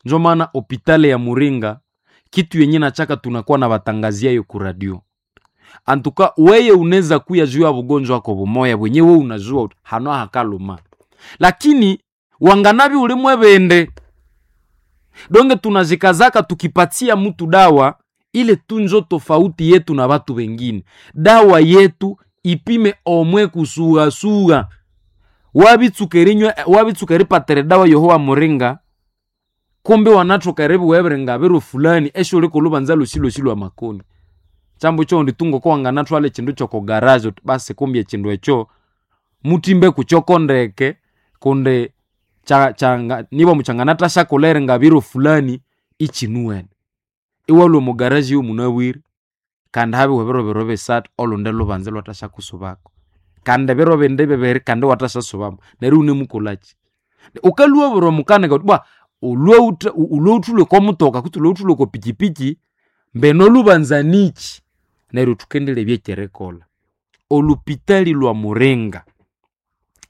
Njo maana hopitale ya Muringa kitu yenye nachaka tunakuwa na batangaziayo ku radio. Antuka weye unaweza kuya juu ya bugonjwa wako bumoya bwenye we unajua hano hakaluma, lakini wanganabi ulimwe bende donge tunazikazaka tukipatia mtu dawa ile tunjo tofauti yetu na watu wengine. Dawa yetu ipime omwe kusugasugha wabitsukerinywa wabitsukeripatere dawa yohowa muringa kumbe wanathuka weberenga biro fulani esho uli kulubanza lusi lusi lwa makoni chambo cho nditungo ko wanganathwala echindu kyoko garage uti basi kumbe echindu ekyo mutimbe kukyokondeke kundi cha, changa, nibo muchanganatha nga biro fulani ichinuwene iwalwa omu garage yomunabwire kandi habiwe biro biro bisathu olundi lubanza lwathasyakusubako kandi biro bindi bibiri kandi wathasyasubamu neryo iwunemukolhaki. Ukalhwa bwira omukanika wuthi bwa ulwe okwa mutoka kutse ulwe okwa pikipiki mbeno olubanza niki neryo thukendirebya ekyerikolha. Olupitali lwa Muringa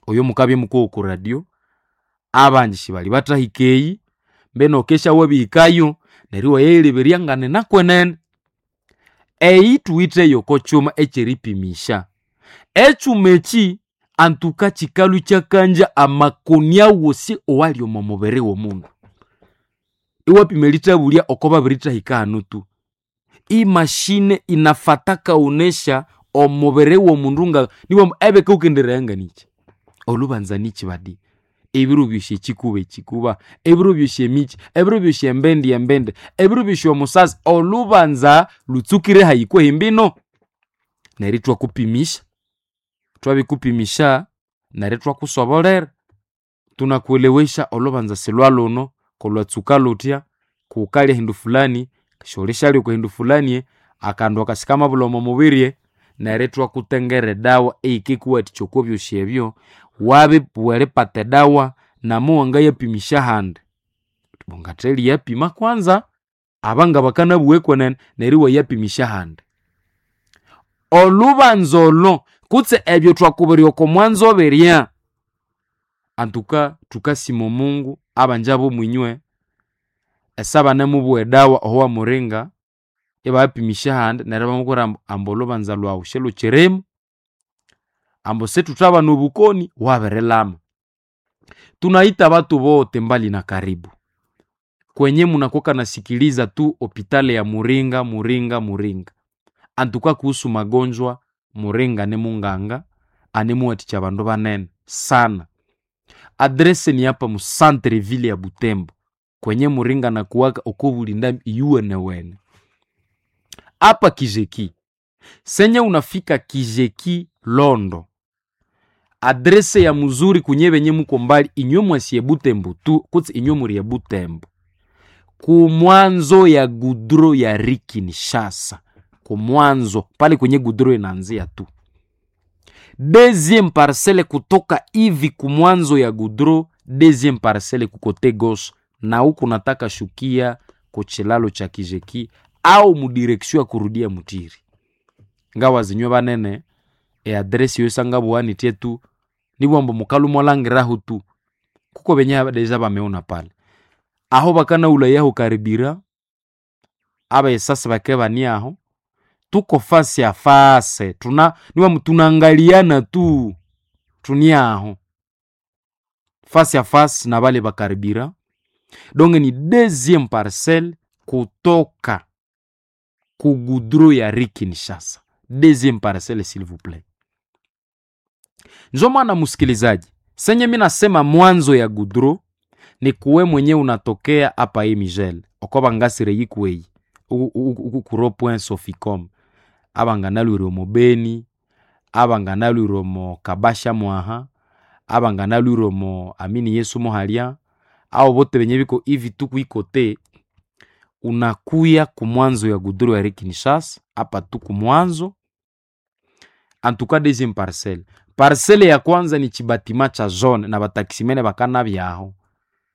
oyo mukabya mukowa oku radio abangi sibali bathahika eyi mbeno wukesya wabihikayo neryo iwayayileberya nganina kwenene. Eyi thuwitheyo oko kyuma ekyeripimisya. Ekyuma eki antuka kikalhwa ikyakangya amakoni awosi owali omo mubiri w'omundu. Iwapima erithabulya oko babirithahika hanu tu. Imashine inafataka onesha omubiri w'omundu nga niwamba ebika wukendiregha niki? Olubanza niki badi? Ebiro byosi ekikuba ekikuba, ebiro byosi emikyi, ebiro byosi embendi embendi, ebiro byosi omusasi, olubanza lutsukire hayi kwehi mbino? Neryo ithwakupimisya, thwabikupimisya neryo ithwakusobolera. Tunakuelewesha olubanza silwalhuno kolwatsuka luthya, kukalya hindu fulani, syolisyalya oko hindu fulani, akandu aka sikamabulha omo mubiri, neryo ithwakutengera edawa eyikikuwathikya oko byosi ebyo, wabibugha eripata edawa namu wangayapimisya ahandi. Wangathali yapima kwanza abanga bakanabugha kwenene neryo iwayapimisya ahandi. Olubanza olo kutse ebyo thwakubirya oko mwanzo birya, antuka thukasima omungu abangi ab'omwinywe esabanemubugha edawa oho wamuringa ibayapimisya ahandi neryo ibamubwira ambu, ambu olubanza lhwawu silhukyirimu, ambu sithuthabana obukoni wabirilama. Tunaita batu bote mbali na karibu kwenye munakuwa nasikiliza tu hopitali ya Muringa Muringa Muringa. Antuka kuhusu magonjwa Muringa ni munganga anemuwathikya abandu banene sana. Adrese ni hapa mu centre ville ya Butembo kwenye Muringa nakuwaka okobulinda iyuwenewene apa Kijeki. Senye unafika Kijeki Londo, adrese ya muzuri kunye benye muko mbali inywe mwasi Butembo tu kutsi inywe muri Butembo kumwanzo ya gudro ya Kinshasa, kumwanzo pale kwenye gudro inaanzia tu deuxième parcelle kutoka hivi kumwanzo ya gudro, deuxième parcelle kukote gauche, na huku nataka shukia kuchilalo cha Kijeki au mudireksio ya kurudia Mutiri ngawa zinywe banene e adresi yosanga bwanitie tu nibwambo mukalu mwalangiraho tu kuko benye deja bameona pale aho bakana ulayaho karibira abaesasi bake bani aho tuko fasi ya fase tuna niwa tunaangaliana tu tuni aho fasi ya fasi na bale bakaribira donc ni deuxième parcelle kutoka kugudro ya Kinshasa, deuxième parcelle s'il vous plaît. Njo maana msikilizaji, senye mi nasema mwanzo ya gudro ni kuwe mwenye unatokea hapa hii Migel okoba ngasire yikuweyi uku kuro point soficom abanganalwire omo Beni, abanganalwire omo Kabasha mwaha, abanganalwire omo Amini Yesu muhalya, ao bote benye biko hivi tu kuikote unakuya kumwanzo ya gudro ya Kinshasa hapa tu kumwanzo antuka deuxième parcelle. Parcelle ya kwanza ni chibatima cha zone na batakisimene bakana byaho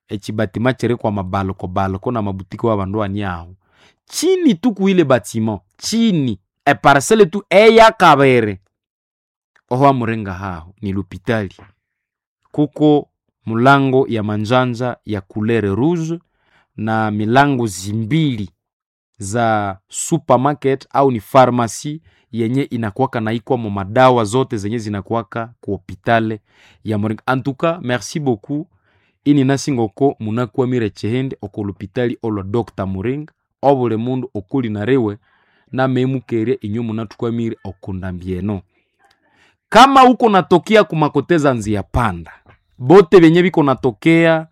echibatima chiri kwa mabaloko baloko na mabutiki wa bandu ani aho chini tu kuile batiment chini e parcelle tu eya kabere oho amurenga haho ni lupitali kuko mulango ya manjanja ya couleur rouge. na milango zimbili za supermarket au ni farmasi yenye inakuwaka na ikwamo madawa zote zenye zinakuwaka ku hopitale ya Muringa. Antuka merci beaucoup, ini nasingoko munakwamire chihindi oko lupitali olwa Dr. Muringa. Obuli mundu okuli nariwe namemukerya inywe munathukwamire okundambi eno. Kama uko natokea kumakoteza nzia panda, bote benye biko natokea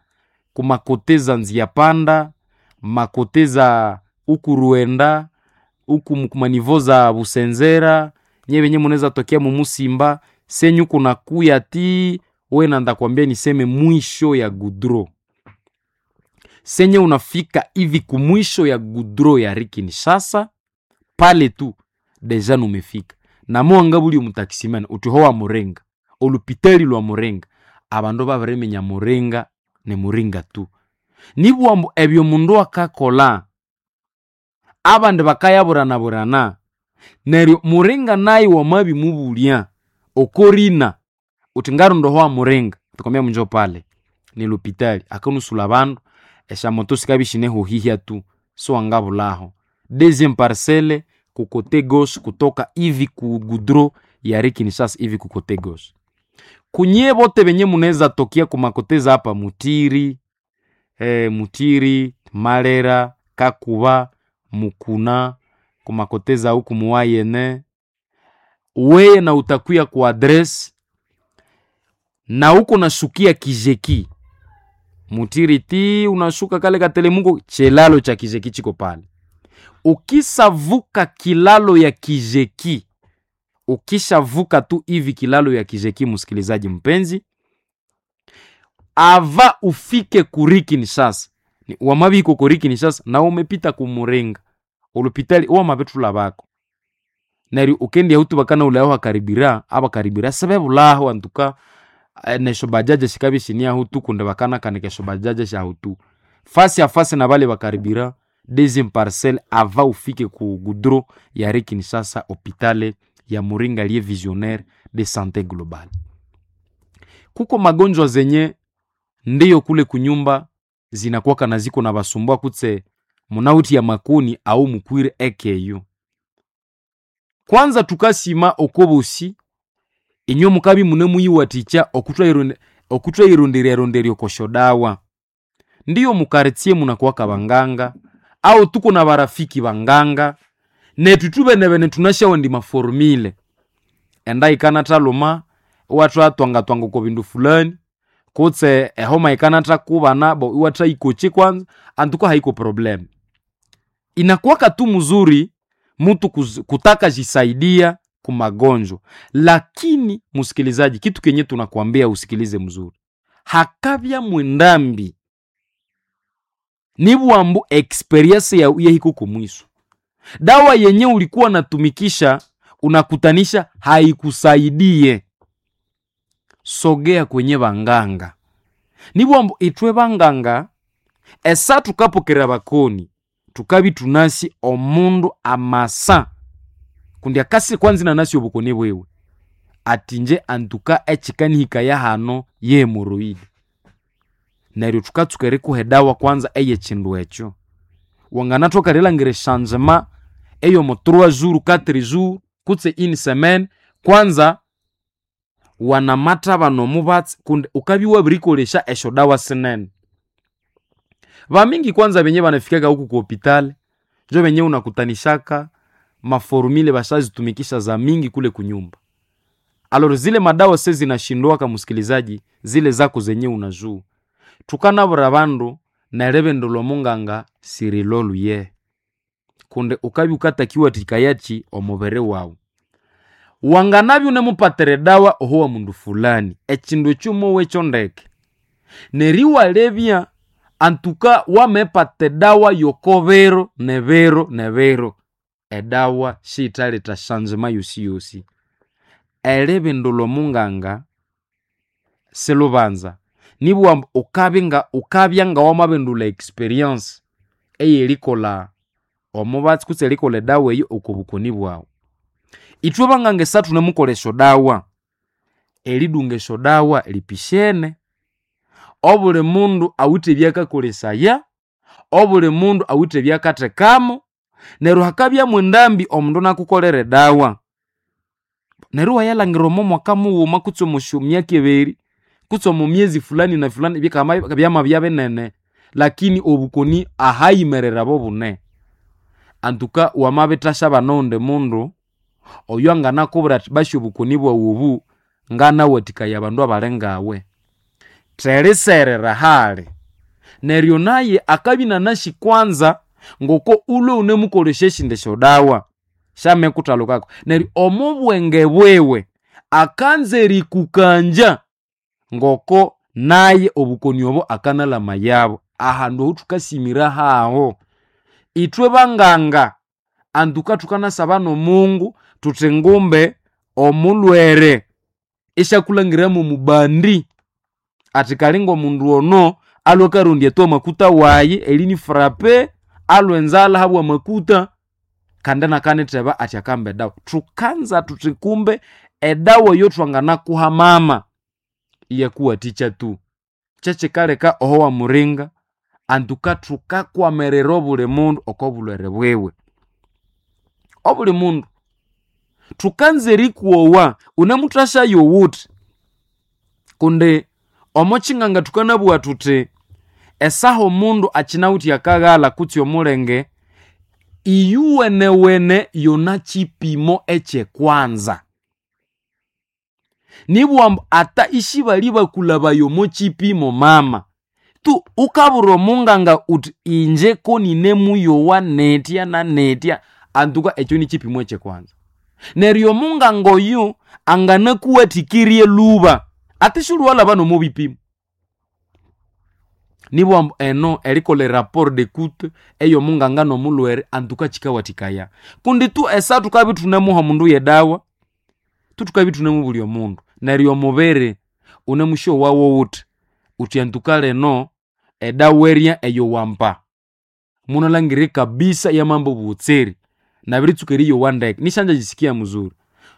kumakoteza nzia panda, makoteza uku Ruenda, uku kumanivo za Busenzera, nye benye munaweza tokea mumusimba senyu kuna kuya ti we na ndakwambia niseme mwisho ya gudro senye unafika hivi kumwisho ya gudro ya Kinshasa pale tu deja numefika na mwanga buli omutakisimani uti howa Muringa, olupitali lwa Muringa, abandu babiriminya Muringa ni Muringa tu. Nibwambu ebyo mundu akakola abandi bakayaburana-burana, neryo Muringa naye wamabimubulya okorina uti ngarundo hoa Muringa, tukwambia munjo pale ni lupitali akanusula bandu eshamoto sikabya shinehuhihya tu so wangabulaho. Deuxième parcelle kukote gauche kutoka hivi ku gudro ya Kinshasa hivi kukote gauche. Kunye bote benye munaweza tokia kumakoteza hapa Mutiri, Mutiri, Malera, Kakuba, Mukuna, kumakoteza huku muwayene. Weye na utakuya ku adresse na huko nashukia Kijeki. Mutiri ti unashuka kale katelemuko chelalo cha Kijeki chiko pale. Ukisavuka kilalo ya Kijeki, ukishavuka tu hivi kilalo ya Kijeki, msikilizaji mpenzi, ava ufike kuri Kinshasa wamabiko kuri Kinshasa na umepita kumurenga olupitali wamabetula bako neryo ukendi hutu bakana ulayo hakaribira abakaribira sebebulaho antuka nesho bajaje shikabi shinia hutu kunde bakana kanekesho bajaje sha hutu fasi ya fasi na bale bakaribira deuxième parcelle ava ufike ku gudro ya Kinshasa hopitale ya Muringa liye visionnaire de santé globale. Kuko magonjwa zenye ndiyo kule kunyumba zinakuwaka na ziko na basumbua kutse munauti ya makuni au mukwire ekeyo. Kwanza tukasima okobosi inyo mukabi mune muyiwaticha okutwa irundiria rundiria koshodawa. Ndiyo mukaretie munakuwaka banganga au tuko na barafiki banganga netu tubenebene tunashawa ndi maformile enda ikana taluma watu atwanga twanga ko bindu fulani kutse ehoma ikana takubana bo iwatra ikoche kwanza antuko haiko problem. Inakuwaka tu mzuri mtu kutaka jisaidia kumagonjwa, lakini musikilizaji, kitu kenye tunakuambia usikilize mzuri, hakavya mwendambi nibwambu experience ya yehiko kumwiso dawa yenye ulikuwa natumikisha unakutanisha haikusaidie. Sogea kwenye banganga nibwambu itwe banganga esa tukapokera bakoni tukabi tunasi omundu amasa kundi akasi kwanza nanasi obukoni bwewe atinje antuka echikanihika ya hano ye hemoroidi neryo tukatsuka erikuha edawa kwanza eyechindu ekyo wanganathoka erilhangira eshanzima eyomo 3 jours 4 jours kutse une semaine kwanza wanamatha omubatsi kundi ukabya wabirikolesya esyodawa sinene. Bamingi kwanza benye banafikaka huku ku hopitali njo benye unakutanishaka maformule bashazitumikisha za mingi kule kunyumba. Aloro zile madawa se zinashindwaka musikilizaji, zile zako zenye unajua. Tukanabura bandu neribindu lwomunganga siriloluye kundi ukabya ukatakiwa tikayachi omubiri wawu. Wanganabya unemupatira edawa oho wa mundu fulani echindu ekyo mowe ndeke neryo iwalebya antuka wamepata edawa yokobiro nebiro nebiro edawa siyithaletha shanzima yosiyosi. Eribindu lwomunganga silubanza nibughambu ukabya ngawamabindulha experience eyerikolha omubatsi kutse erikolha edawa eyo oko bukoni bwawu. Ithwe banganga esa thunemukolha esyodawa, eridunga esyodawa lipishene. Obuli mundu awithe ebyakakolesaya, Obuli mundu awithe ebyakathekamo, neryo hakabyamu endambi omundu nakukolera edawa. Neryo iwayalhangira omo mwaka mughuma kutse omo myaka ibiri kutse omo myezi fulani na fulani bikama byamabya binene, lakini obukoni ahayimerere bobune. Antuka wamabithasya nowundi mundu oyo anganakubwira athi basi obukoni bwaghu obu nganawathikaya abandu abali ngawe. Theriserera hali. Neryo naye akabya inanasi kwanza ngoko ulwe wunemukolesya esindi syodawa syamikuthalukako. Neryo omo bwenge bwiwe akanza erikukangya ngoko naye obukoni obo akanalamayabo. Ahandu aho thukasimira haho. Ithwe banganga antuka thukanasaba n'Omungu thuthi ngumbe omulhwere isyakulhangira mwomubandi athi kali ng'omundu ono alwe akarondya tu amakuta wayi erinifrape alwe enzalha habwa amakuta kandi inakanitheba athi akamba edawa. Thukanza thuthi kumbe edawa eyothwanganakuha mama iyakuwathikya tu. Kyekikaleka oho wamuringa antuka thukakwamirira obuli mundu oko bulhwere bwiwe. Obuli mundu thukanza erikwowa wunemuthasyayo wuthi kundi omo kyinganga thukanabugha thuthi esaha omundu akyinawithe akaghalha kutse omulenge, iyuwenewene yona kyipimo ekyekwanza. Nibugha ambu ata isibalyabakulhabaya omo kyipimo mama, tu wukabwira omunganga wuthi inje koninemuyowa nithya na nithya antuka ekyo nikyipimo ekyekwanza. Neryo omunganga oyu anganakuwathikirye lhuba ate siwulhiwalhaba nomo bipimo. Nibugha ambu eno erikolha eraporo d'écoute ey'omunganga n'omulhwere antuka kyikawathikaya. Kundi tu esaha thukabya ithunemuha omundu y'edawa, thuthukabya ithunemubulya omundu. Neryo omubiri wunemusyowawo wuthi, wuthi antuka lino edawa erya eyowampa munalhangira kabisa yamamba obughotserĩ nabiritsuka eriyowa ndeke nisyangyajisikia muzuri.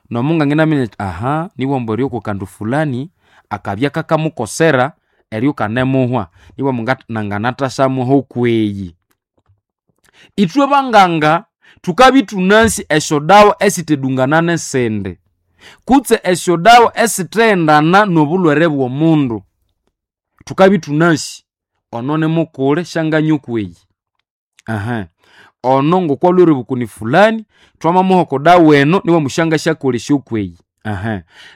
N'omunganga inaminya athi aha nibugha ambu eryo kwakandu fulani akabya kakamukosera eryo ikanemuhwa nibugha ambu nanganathasyamuha okweyi. Ithwe banganga thukabya ithunasi esyodawa esithedungana n'esindi kutse esyodawa esithendana n'obulhwere bw'omundu. Thukabya ithunasi ono nimukuli syanganywa okweyi, ono ngokwalhwere obukoni fulani thwamamuha oko dawa eno nibugha ambu syangasyakolesya okweyi,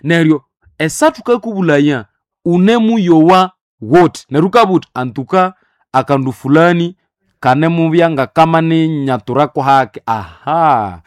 Neryo esaha thukakubulhaya wunemuyowa wuthi neryo wukabugha wuthi antuka akandu fulani kanemubya ngakamaninyathurako hake aha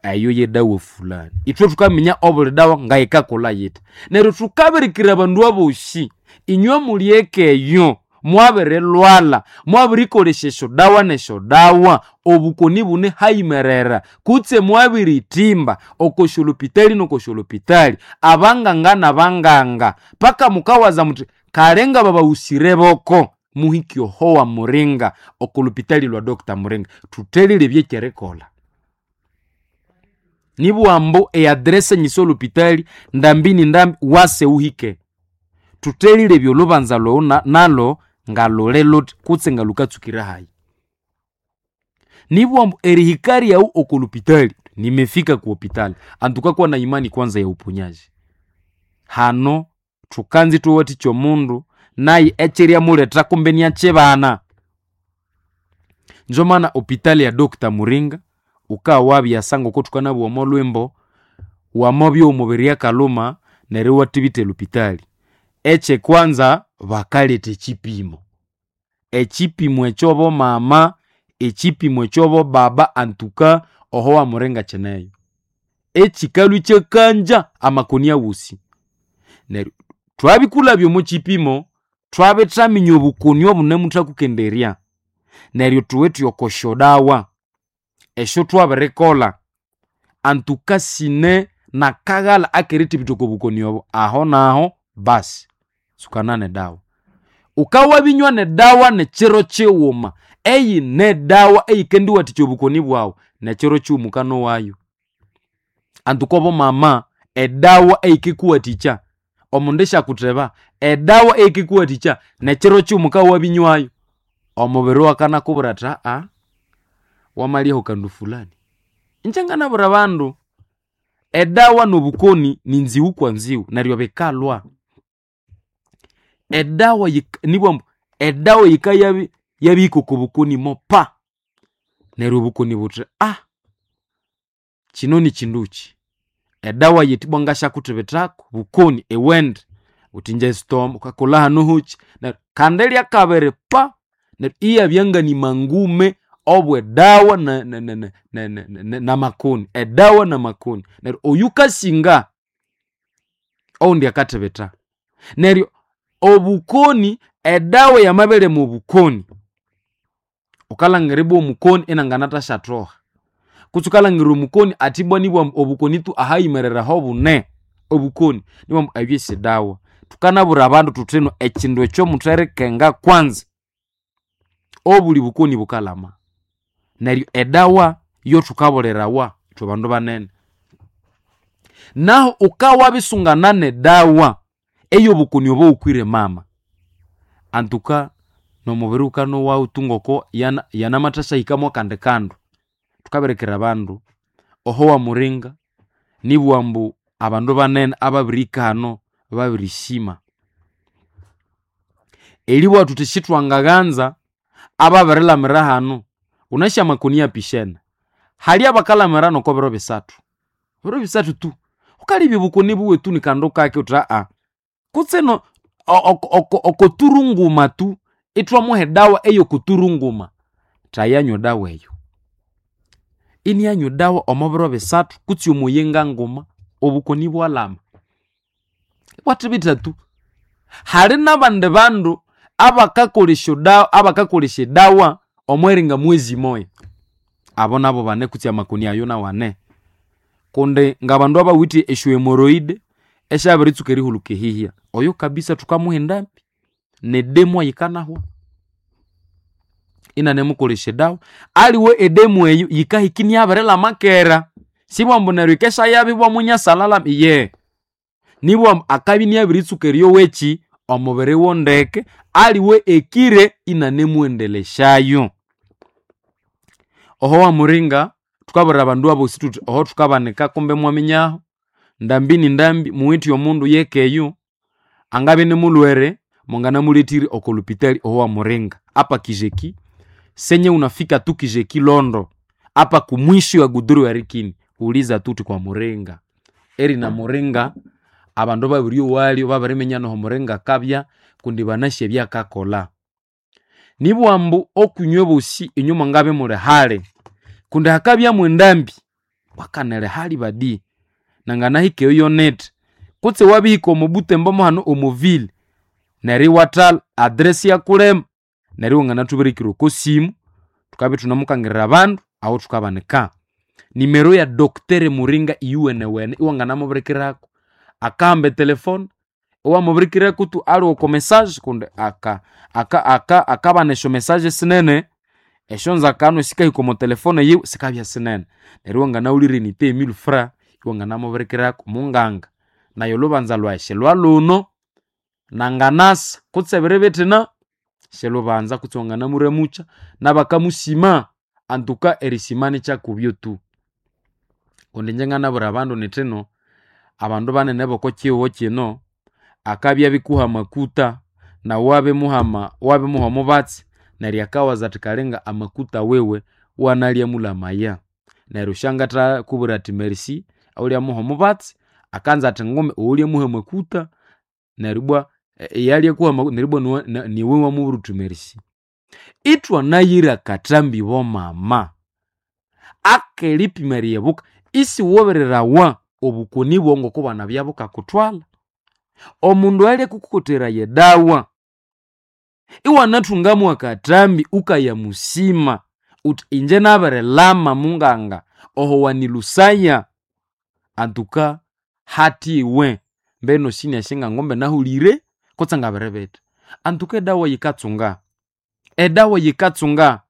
eyo yedawa fulani. Ithwe thukaminya obuli dawa ngayikakolha yithi. Neryo thukabirikira abandu abosi inywe muli eka eyo mwabirilhwalha, mwabirikolesya esyodawa nesyodawa obukoni bune hayimerera kutse mwabirithimba oko syolhopitali noko syolhopitali abanganga nabanganga paka mukawaza muthi kale ngababahusire boko muhike oho wamuringa oko lhopitali lwa Doctor Muringa thuthelile ekyerikolha. Nibugha ambu eaddress nyisa olhopitali ndambi ni ndambi wase wuhike. Thuthelile olhubanza lhwawu nalo ngalhuli luthi kutse ngalhukatsukira hayi. Nibugha ambu erihika lyaghu oko lhopitali nimefika ku hopitali antuka kuwa na imani kwanza ya uponyaji. Hano thukanza ithwawathikya omundu naye ekyiryamuletha kumbe iniakyibana. Njo maana hopitali ya Doctor Muringa wukawabya ngoko thukanabugha omo lhwimbo, wamabya omubiri akalhuma neryo iwathibitha elhopitali. Ekyekwanza bakaletha ekyipimo, ekyipimo ekyo bomama, ekyipimo ekyo bobaba antuka oho wamuringa kyineyo. Ekyikalhwa ikyakangya amakoni awosi. Neryo thwabikulhabya omo kyipimo thwabithaminya obukoni obunemuthakukenderya neryo thuwithe oko syodawa esyothwabirikolha antuka sine nakaghalha akerithibitha oko bukoni obo aho naho basi tsukana nedawa. Wukawabinywa nedawa nekyiro kyighuma eyine dawa eyikendiwathikya obukoni bwaghu nekyiro kyighuma wukanowayo. Antuka obomama edawa eyikikuwathikya omundu isyakutheba edawa eyikikuwathikya nekyiro kyighuma wukawabinywayo. Omubiri wakanakubwira athi aa wamalyaho kandu fulani. Ingye nganabwira abandu, edawa nobukoni ni nziwu kwa nziwu neryo bikalwa. Edawa nibughambu edawa yikaya yabihika oko bukoni mopa, neryo obukoni buthi kino nikyindukyi. Edawa yithi ibwa ngasyakuthibithako bukoni iwende, wuthi ingye esitoma wukakolha hanu hokyi, neryo kandi lyakabiri pa neryo iyabya ngani mangume obw'edawa namakoni, edawa namakoni. Neryo oyukasinga owundi akathibitha. Neryo obukoni edawa yamabirima obukoni, wukalhangira ibwa omukoni inanganathashathoha, kutse wukalhangira omukoni athi ibwa nibughambu obukoni tu ahayimerere aho bune, obukoni nibughambu ebyo si dawa. Thukanabwira abandu thuthino ekyindu ekyo mutherikenga kwanza, obuli bukoni bukalama. Neryo edawa yothukabulirawa ithwe bandu banene. Nahu wukawabisungana nedawa ey'obukoni obo wukwire mama, antuka n'omubiri wukanowawu tu ngoko yanamathasya mwakandi kandu. Thukabirikira abandu oho wamuringa nibugha ambu abandu banene ababirihika hano babirisima. Eribugha thuthi sithwangaghanza ababirilamira hano, wunasi amakoni apishene. Hali abakalamira noko biro bisathu, biro bisathu tu. Wukalebya obukoni buwe tu nikandu kake wuthi kutse okoturunguma tu ithwamuha edawa ey'okoturunguma, thayanywa edawa eyo. Inianywa edawa omo biro bisathu kutse omuyinga nguma, obukoni ibwalhama. Ibwathibitha tu. Hali n'abandi bandu abakakolesya abakakolesya edawa omw'iringa mwezi moya. Abo nabo bane kutse amakoni ayo nawu ane. Kundi ng'abandu abawithe esyo hemorrhoid esyabiritsuka erihuluka ehihya, oyo kabisa thukamuha endambi n'edemu yikanahwa inanemukolesya edawa. Aliwe edemu eyo yikahika inyabirilhama kera, sibughambu ambu neryo yikesya ibwa munyasalalhama, iye. Nibughambu ambu akabya inyabiritsuka eryowa ekyi omubiri wondeke, aliwe ekire inanemuwendelesyayo. Oho wamuringa thukabwira abandu abosi thuthi oho thukabanika kumbe imwaminyaho, ndambi ni ndambi muwithe omundu yekeyo angabya ini mulhwere mwanganamulethire oko lupitali oho wamuringa apa Kijeki, senye unafika tu Kijeki Londo apa kumwisho ya guduru erikini uliza tuthi kwa Muringa. Erina Muringa abandu babiriyowalyo babiriminya noho Muringa akabya kundi banasi ebyakakolha. Nibugha ambu okwinywe bosi inywe mwangabya imuli hali kundi hakabya mwendambi wakanela hali badi nanganahika eyo yonete kutse wabihika omo Butembo mo hano omo ville neryo iwathalha address iyakulema neryo iwanganathubirikira oko simu thukabya ithunamukangirira abandu aho thukabanika. Nimero ya Doctor Muringa iyuwenewene iwanganamubirikirako, akahamba etelefone iwamubirikirako tu aliwe oko message kundi akabana esyo message sinene, esyonzakano esikahika omo telefone yiwe sikabya sinene. Neryo iwanganawulire nite mille francs iwanganamubirikirako, munganga nayi olhubanza lwayi silwalhuno nanganasa kutse ebiro bithina silhubanza kutse wanganamuramukya n'abakamusima antuka erisima nikyakubyo tu. Kundi ingye nganabwira abandu nithino abandu banene b'oko kihugho kino akabya abikuha amakuta nawu wabimuha wabimuha omubatsi neryo akawaza athi kalinga amakuta wiwe iwanalya mulamaya. Neryo syangathakubwira athi merci awulyamuha omubatsi akanza athi ngumbi owulyamuha amakuta neryo ibwa eyalyakuha neryo ibwa niwe wamubwira wuthi merci. Ithwanayira akathambi bomama akeripima eriyebuka isiwubirirawa obukoni bwawu ngokubwanabya bukakuthwalha. Omundu oyulyakukokotheraya edawa iwanathungamu akathambi wukayamusima wuthi ingye nabirilhama munganga oho wanilhusaya antuka hathiwe mbeno sinasi ngangombe nahulire kutse ngabiribitha. Antuka edawa yikatsunga, edawa yikatsunga.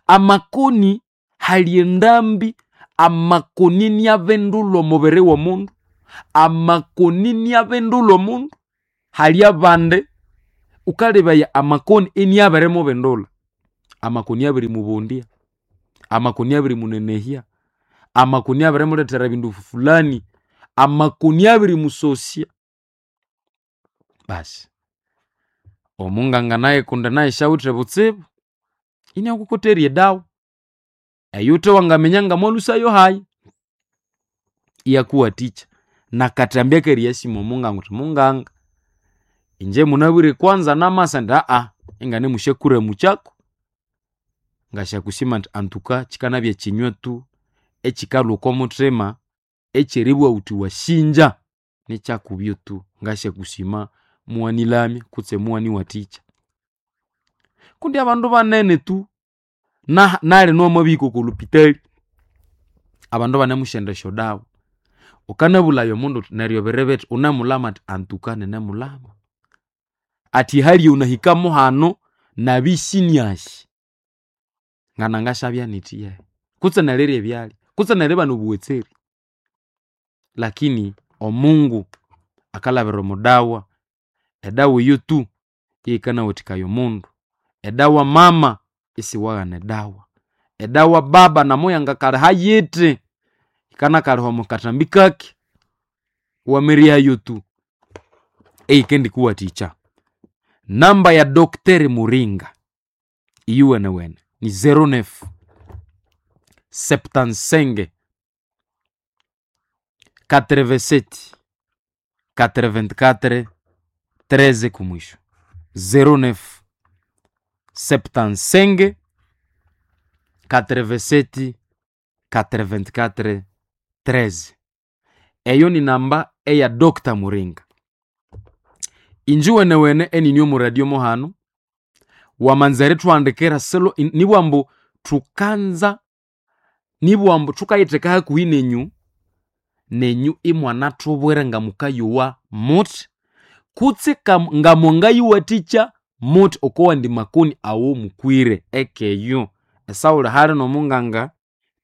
Amakoni hali endambi, amakoni iniabindulha omubiri w'omundu, amakoni iniabindulha omundu. Hali abandi wukalebaya amakoni iniabirimubindulha. Amakoni abirimubondya, amakoni abirimunenehya, amakoni abirimulethera ebindu fulani, amakoni abirimusosya. Basi omunganga naye kundi naye syawithe butsibu, iniakukoterya edawa eyuthe wangaminya ngamwalhusayo hayi, iyakuwathikya. Nakathambya akeriyasima omunganga wuthi, munganga, inje munabwire kwanza namasa indi inganemusyakuramukyako, ngasyakusima indi antuka kyikanabya kyinywa tu ekyikalhwa oko muthima ekyeribugha wuthi wasinja nikyakubyo tu, ngasyakusima mughanilamya kutse mughaniwathikya. Kundi abandu banene tu nalino wamabihika oko lhupitali, abandu ibanemusyenda esyodawa, wukanabulhaya omundu wuthi neryo biribithi, wunemulhama athi antuka ninemulhama. Athi ehali eyawunahikamo hanu nabya isinyasi, nganangasyabya nyithi yahi? Kutse nerirya ebyalya, kutse neribana obuwetseri. Lakini omungu akalhabira omo dawa, edawa eyo tu yeyikanawathikaya omundu. Edawa mama isiwaghana edawa, edawa baba namuyangakalhiha yithi, yikanakalhiha omo kathambi kake, iwameryayo tu eyikendikuwathikya. Namba ya Doctor Muringa iyuwenewene ni 09 75 87 84 13 kumwisho 09 75 87 84 13. Eyo ni namba eya Dr. Muringa. Inji wenewene enini omu radio muhano wamanza erithuhandikira silo nibwambu thukanza, nibwambu thukayitheka hakuhi nenyu, nenyu imwanathubwira ngamukayowa muthi kutse ngamungayiwathikya muthi okowandi makoni awo mukwire ekeyo. Esawuli hali nomunganga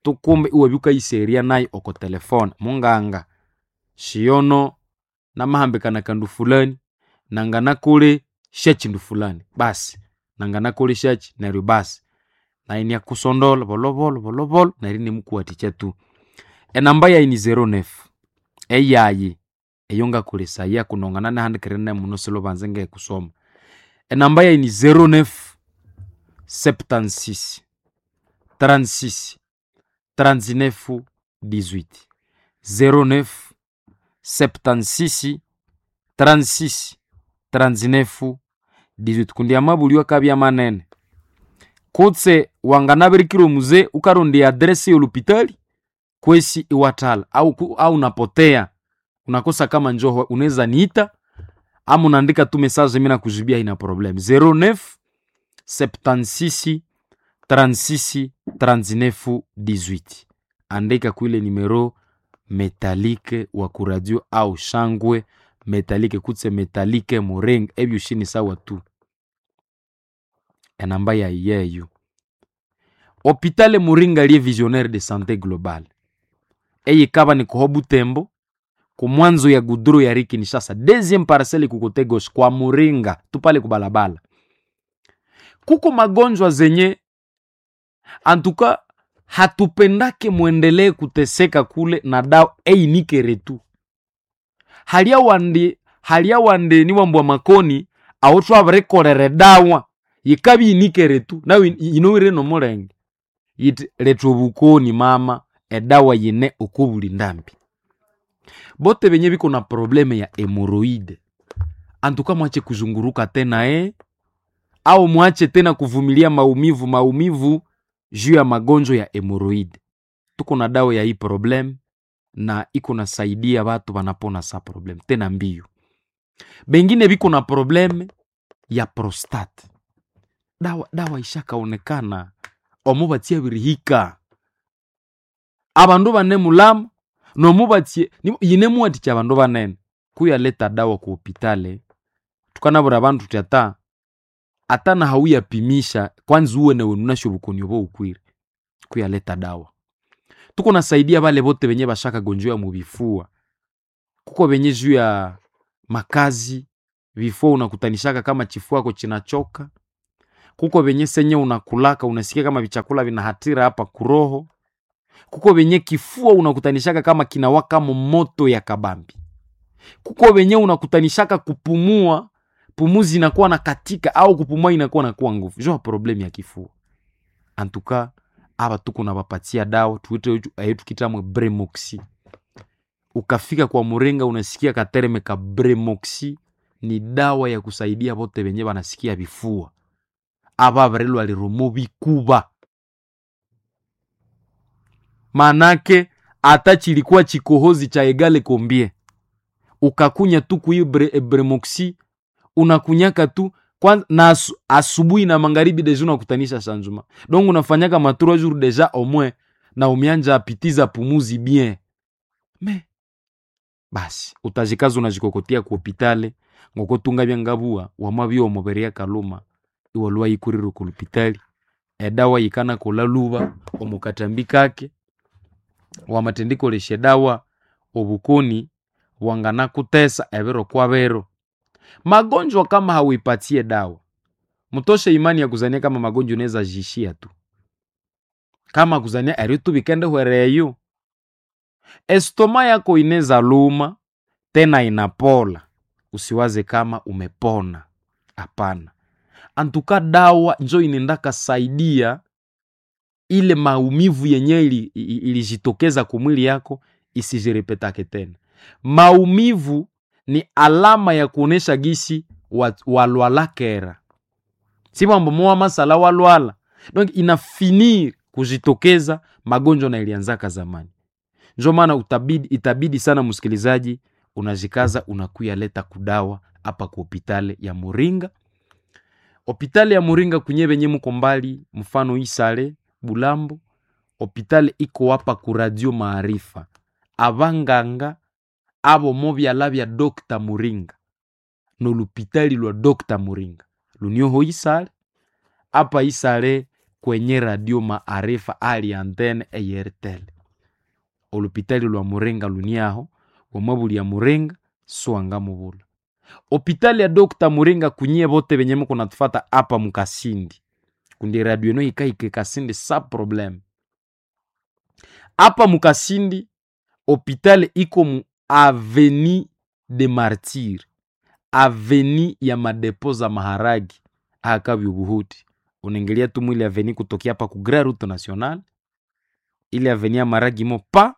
tukumbe iwabya wukayisegherya nayu oko telefone, munganga shiyono namahambikana akandu fulani, nanganakolesya syachindu fulani, basi nanganakolesyakyi neryo basi nayu iniakusondolha bolhobolho bolhobolho neryo inimukuwathikya tu. Enamba yayi ni 09 eyayi eyongakolesaya kundi wangananihandikirene muno silubanza ngekusoma. Enamba yayi ni 09 76 36 39 18 09 76 36 39 18. Kundi amabulyo akabya manene kutse wanganabirikira omuze wukarondya eadresi yolupitali kwesi iwathalha au, au unapotea unakosa kama njoho unaweza niita ama unaandika tu message mimi nakujibia ina problem 09 76 36 39 18. Andika kuile numero metalike wa kuradio au shangwe metalike kutse metalike muring ebyo shini sawa tu enamba yayi yeyo. Hopitale Muringa liye visionnaire de santé globale eyikaba ni kuho Butembo kumwanzo ya gudro ya Riki Kinshasa deuxième parcelle kukote gauche kwa Muringa tupale kubalabala. Kuko magonjwa zenye antuka hatupendake mwendelee kuteseka kule na dawa einikere tu halia wandi, halia wandi ni wambwa makoni awo twabirikolera edawa yikabya inikere tu nawe yinowire nomulenge yiti leta obukoni mama edawa yine okobuli ndambi. Bote benye biko na probleme ya hemoroide antuka mwache kuzunguruka tena au mwache tena kuvumilia maumivu maumivu juu ya magonjwa ya hemoroide. Tuko na dawa ya hii problem na iko nasaidia watu wanapona sa problem tena mbio. Bengine biko na probleme ya prostate, dawa dawa ishakaonekana omo batsia birihika abandu bane mulama nomubatsie yine muwathikya abandu banene kuyaleta dawa ku hopitale tukanabwira abandu thuthi ata ata nahawuyapimisha kwanza uwene wenu unasyo obukoni obo wukwire kuyaleta dawa. Tukunasaidia bale bote benye bashakagonjwa mubifua, kuko benye juu ya makazi vifua unakutanishaka kama chifuako chinachoka. Kuko venye senye unakulaka unasikia kama vichakula vinahatira hapa kuroho. Kuko venye kifua unakutanishaka kama kinawaka moto ya kabambi. Kuko venye unakutanishaka kupumua, pumuzi inakuwa na katika au kupumua inakuwa na kuwa nguvu. Jo problème ya kifua. Antuka aba tuko na bapatia dawa tuite ayo tukitamwe Bremoxi. Ukafika kwa Muringa unasikia katereme ka Bremoxi ni dawa ya kusaidia bote benye banasikia bifua. Aba barelwa lirumo bikuba. Manake ata chilikuwa chikohozi cha egale kombie. Ukakunya tu kui Bremoxi unakunyaka tu kwanza na asubuhi na magharibi deja unakutanisha sanjuma. Donc unafanyaka ma 3 jours deja au moins na umeanja apitiza pumuzi bien. Me basi utajikaza unajikokotia ku hopitale ngokotunga byangabua wamabyo omuberia kaluma iwalwa yikurire ku hopitali edawa yikana kola luba omukatambi kake wamatendikolesha edawa obukoni wanganakutesa ebiro kwa biro. Magonjwa kama hauipatie dawa, mutoshe imani ya kuzania kama magonjwa unaweza jishia tu, kama kuzania eri tu bikende hwereyo. Estoma yako ineza luma tena inapola, usiwaze kama umepona. Hapana, antuka dawa njo inendaka saidia ile maumivu yenye ilijitokeza kumwili yako isijirepetake tena. Maumivu ni alama ya kuonesha gisi walwala kera, si mambo moa masala walwala, donc inafinir kujitokeza magonjwa na ilianzaka zamani. Njo maana itabidi sana msikilizaji, unajikaza unakuya leta kudawa hapa ku hopitale ya Muringa. Hopitale ya Muringa kunye benye muko mbali, mfano Isale, Bulambo, hopitale iko hapa ku Radio Maarifa. Abanganga abo mobyala bya Dr. Muringa nolupitali lwa Dr. Muringa lunioho Isale apa Isale kwenye Radio Maarifa ali antene eyertel olupitali lwa Muringa luniaho wamabuli ya Muringa swanga mubula hopitali ya Dr. Muringa kunyie bote benye muko natufata apa mukasindi kundi radio eno ikaike Kasindi sa problème apa mukasindi hopitali iko mu Avenue de Martyr, aveni ya madepo za maharagi akabya ubuhuti. Unaingilia tu mwili aveni kutokea hapa ku Grand Route Nationale, ile aveni ya maharagi mo pa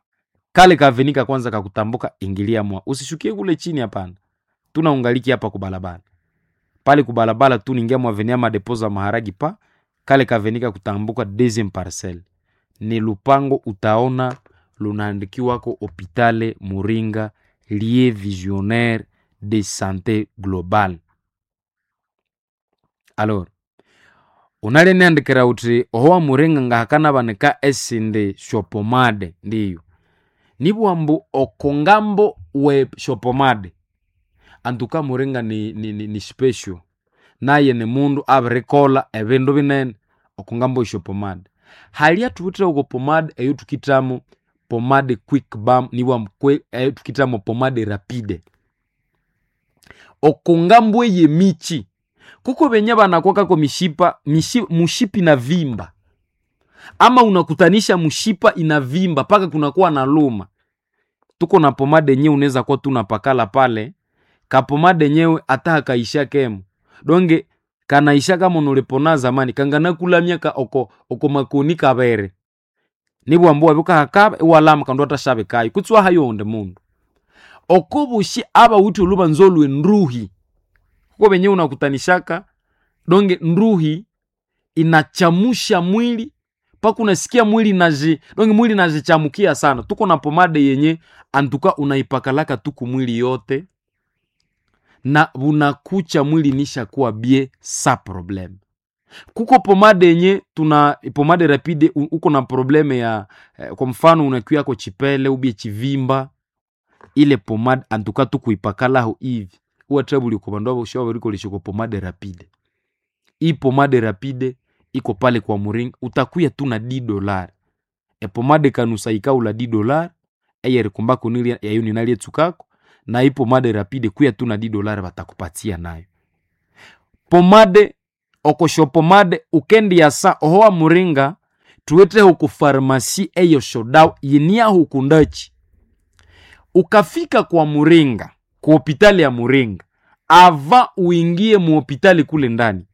kale ka aveni ka kwanza kakutambuka, ingilia mwa, usishukie kule chini, hapana. Tunaungaliki hapa ku barabara pale ku barabara tu ningia mwa aveni ya madepo za maharagi pa kale ka aveni ka kutambuka, deuxième parcelle ni lupango, utaona lunaandikiwako Hopitale Muringa lieu visionnaire de santé globale. Alors unaleniandikira uti ohowa Muringa ngahakana banika esindi shopomade ndiyo nibwambu okongambo we shopomade antuka Muringa ni special naye ni mundu abirikola ebindu binene okongambo shopomade halia tuwitire uko pomade eyo tukitamo pomade quick balm niwa eyo tukitamo pomade rapide okongambo eye michi kuko benye banakwakako mishipa mushipi na vimba ama unakutanisha mushipa inavimba paka kunakuwa na luma. Tuko na pomade yenyewe unaweza kuwa tu unapakala pale kapomade yenyewe ata hakaisha kemo donge kanaisha kama nulipona zamani kangana kulamya ka oko oko makoni kabere nibwambuwa bukahakaba iwalama kandu atashabe kayo kutswa hayo onde mundu okobushi aba uti oluba nzolwe nruhi kuko benye unakutanishaka donge nruhi inachamusha mwili paka unasikia mwili naji donge mwili najichamukia sana. Tuko na pomade yenye antuka unaipakalaka tuku mwili yote na unakucha mwili nisha kuwa bie sa probleme. Kuko pomade yenye tuna pomade rapide, uko na probleme ya kwa mfano unakuya ko chipele ubie chivimba, ile pomade antuka tukuipakalaho hivi uwa trouble uko bandu abo shawa bariko lishoko pomade rapide. Hii pomade rapide iko pale kwa Muringa, utakuya tu na $10. E pomade kanusa ikaula $10 eyeri kumbako nili yayo ninalie tsukako na hii pomade rapide kuya tu na $10 batakupatia nayo. Pomade Oko shopomade ukendiasa oho wa Muringa, tuweteho ku farmasi eyo shodawa yiniaho kundachi. Ukafika kwa Muringa, ku hopitali ya Muringa, ava uingie muhopitali kule ndani,